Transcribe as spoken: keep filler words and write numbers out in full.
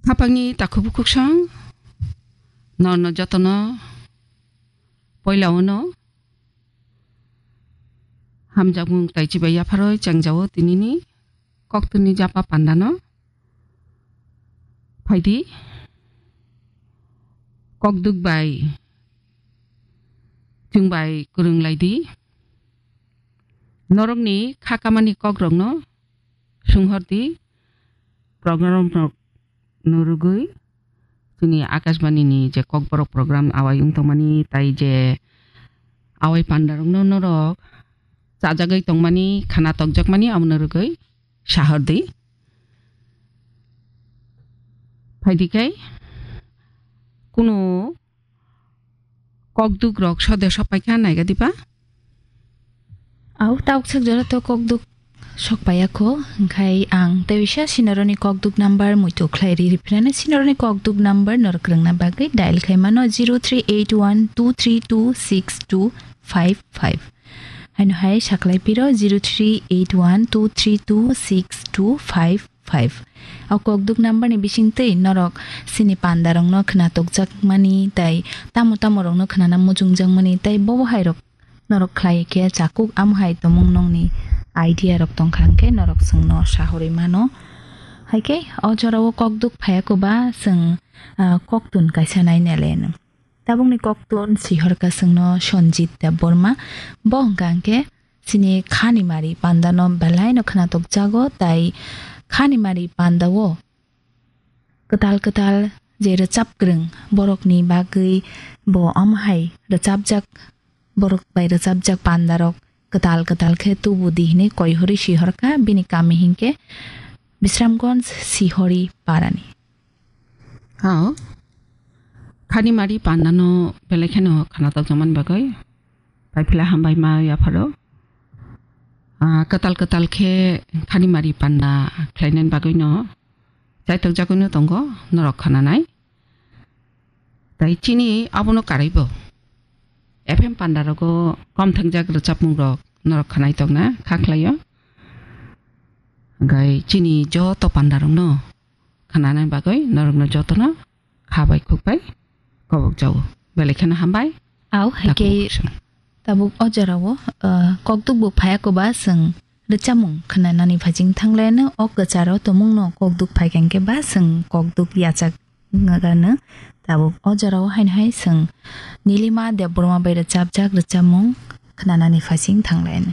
Khapangni takhuk bukhuk song, norno jotono poila ono hamjakmung tai chibai yapharoi chengjao tinini koktwni japa pandano. Phaidi, kokduk bai chwng bai kwrwng lai di. Norokni kha kamani kokrokno swnghor di, program rok no rwgwi chini Akashbani ni je Kokborok program awai wng tongmani, tai je awai panda rok no norok chajagwi tongmani, khana tokjakmani, amo no rwgwi sahor di. Phaidi khe kunu kokduk rok sode sok paikha naiga diba? Au, tauksak jora to kokduk sok paiya kho, hingkhai ang tei bisa sinoroni kokduk number muitu khlai ri riphinani. Sinoroni kokduk number norok rwngna bagwi dial khai mano zero three eight one two three two six two five five. Haino hai saklai piro zero three eight one two three two six two five five. O kokduk number ni bisingtwi norok sini pandarokno khna tokjakmani tei tamo tamo rokno khnana muchungjakmani tei bobo hai rok norok khlai khe chakuk, amo hai tomung nongni idea rok tongkha hwnkhe norok chwngno sahorwi mano. Haikhe o jorao kokduk phaiya koba chwng, ah, koktun kaisa nainale. Tabukni koktun sihorkha chwngno Sanjit Debbarma. Bo hwnkha hwnkhe chini khani mari pandano belaino khna tokjago, tai khani mari pandao kwtal kwtal je rwchap kwrwng borokni bagwi bo omo hai rwchapjak, borok bai rwchapjak pandarok kwtal kwtal khe tubu di hwnwi koi hori sihorkha bini kami hinkhe Bisramganj Sihori parani. Hao. Khani mari pandano belai kheno khana tokjakmani bagwi. Paipila hambai ma yapharo. Ah, kwtal kwtal khe khani mari panda khlainani bagwino chaitok jagwino tongo norok khananai. Tai chini abono karaibo. F M panda rogo kom thangjak rwchapmung rok norok khanai tokna kha khlaio. Gai chini joto panda rokno khananani bagwi norokno jotono kha bai khuk bai kobok jao. Belai kheno hambai. Au, hai khe tabuk o jorao, uh, kokduk bo phaya koba chwng rwchapmung khnanani phaising thanglaino. O kwcharo tomungno kokduk phai khe ba chwng kokduk yachak gano. Tabuk o jorao haino hai chwng Nilima Debbarma bai rwchapjak rwchapmung khnanani phaising thanglaino.